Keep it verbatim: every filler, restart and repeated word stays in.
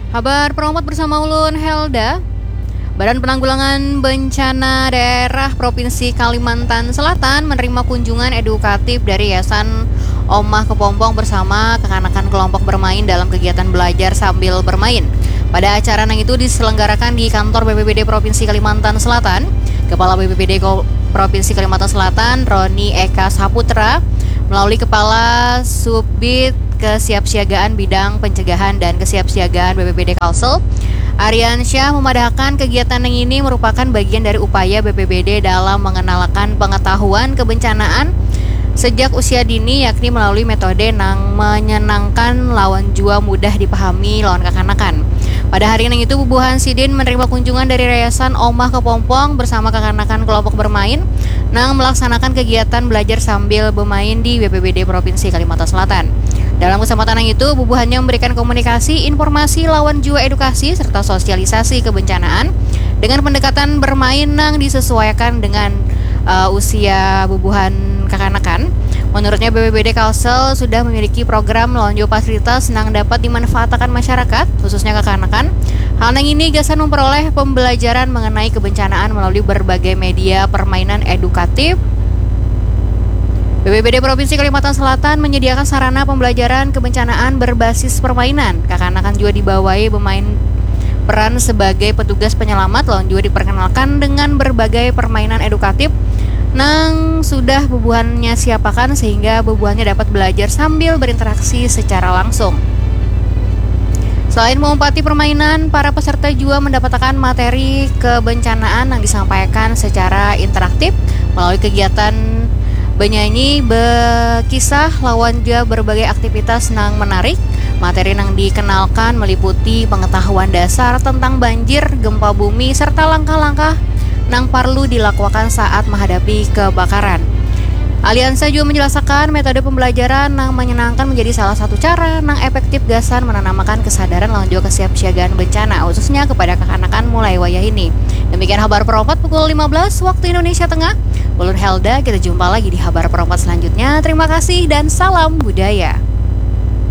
Habar Perompat bersama ulun Helda. Badan Penanggulangan Bencana Daerah Provinsi Kalimantan Selatan menerima kunjungan edukatif dari Yayasan Omah Kepompong bersama kekanakan kelompok bermain dalam kegiatan belajar sambil bermain. Pada acara nang itu diselenggarakan di kantor B P B D Provinsi Kalimantan Selatan, Kepala B P B D Ko- Provinsi Kalimantan Selatan, Roni Eka Saputra, melalui Kepala Subbid Kesiapsiagaan Bidang Pencegahan dan Kesiapsiagaan B P B D Kalsel, Aryan Syah memadahkan kegiatan yang ini merupakan bagian dari upaya B P B D dalam mengenalkan pengetahuan kebencanaan sejak usia dini, yakni melalui metode nang menyenangkan lawan jua mudah dipahami lawan kakanakan. Pada hari nang itu, bubuhan sidin menerima kunjungan dari Yayasan Omah Kepompong bersama kakanakan kelompok bermain nang melaksanakan kegiatan belajar sambil bermain di B P B D Provinsi Kalimantan Selatan. Dalam kesempatan yang itu, bubuhannya memberikan komunikasi, informasi lawan jua edukasi serta sosialisasi kebencanaan dengan pendekatan bermain nang disesuaikan dengan uh, usia bubuhan kakanakan. Menurutnya, B P B D Kalsel sudah memiliki program lawan jua fasilitas nang dapat dimanfaatakan masyarakat, khususnya kakanakan. Hal nang ini gasan memperoleh pembelajaran mengenai kebencanaan melalui berbagai media permainan edukatif. B P B D Provinsi Kalimantan Selatan menyediakan sarana pembelajaran kebencanaan berbasis permainan. Kakanakan juga dibawai bermain peran sebagai petugas penyelamat lawan juga diperkenalkan dengan berbagai permainan edukatif nang sudah bubuhannya siapakan sehingga bubuhannya dapat belajar sambil berinteraksi secara langsung. Selain mengumpati permainan, para peserta juga mendapatkan materi kebencanaan yang disampaikan secara interaktif melalui kegiatan benyanyi, berkisah, lawan juga berbagai aktivitas nang menarik. Materi nang dikenalkan meliputi pengetahuan dasar tentang banjir, gempa bumi, serta langkah-langkah nang parlu dilakukan saat menghadapi kebakaran. Aliansa juga menjelaskan metode pembelajaran nang menyenangkan menjadi salah satu cara nang efektif gasan menanamakan kesadaran lawan juga kesiapsiagaan bencana, khususnya kepada kakanakan mulai wayah ini. Demikian Habar Perompat pukul lima belas waktu Indonesia Tengah. Ulun Helda, kita jumpa lagi di Habar Perompat selanjutnya. Terima kasih dan salam budaya.